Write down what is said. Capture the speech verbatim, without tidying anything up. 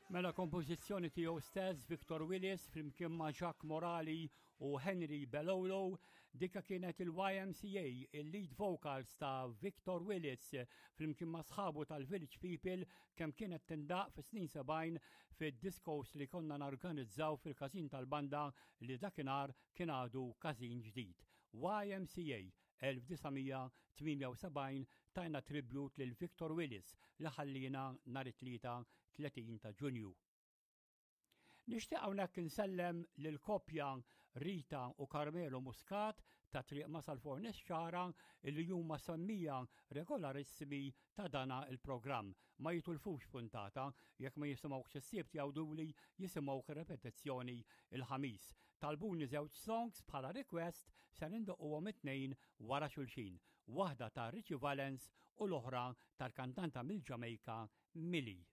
Mela kompożizzjoni tiegħu stess Victor Willis flimkien ma' Jacques Morali u Henry Belolo, dika kienet il-Y M C A, il-lead vocals ta' Victor Willis flimkien ma' sħabu tal-Village People, kemm kienet tindaq fi snin sebgħin fid-discos li konna narganizzaw fil-każin tal-banda li dakinhar kien għadu każin ġdid. Y M C A elf disa' mija tmienja u sebgħin, tajna tribut lil Victor Willis li ħallina nhar it-Tlieta tletin ta' Ġunju. Nixtieq hawnhekk insellem lil koppja Rita u Carmelo Muscat ta' Triq Masal Fornes Xara, illi huma semmiegħa regolarissimi ta' dana il-programm. Ma jitilfux puntata, jekk ma jisimgħux is-Sibt jgħiduli jisimgħu repetizzjoni il-Ħamis. Talbuni żewġ songs bħala request, se nindoqquhom it-tnejn wara xulxin. Waħda ta' Richie Valens u l-oħra tal-kantanta mill-Ġamejka, Millie.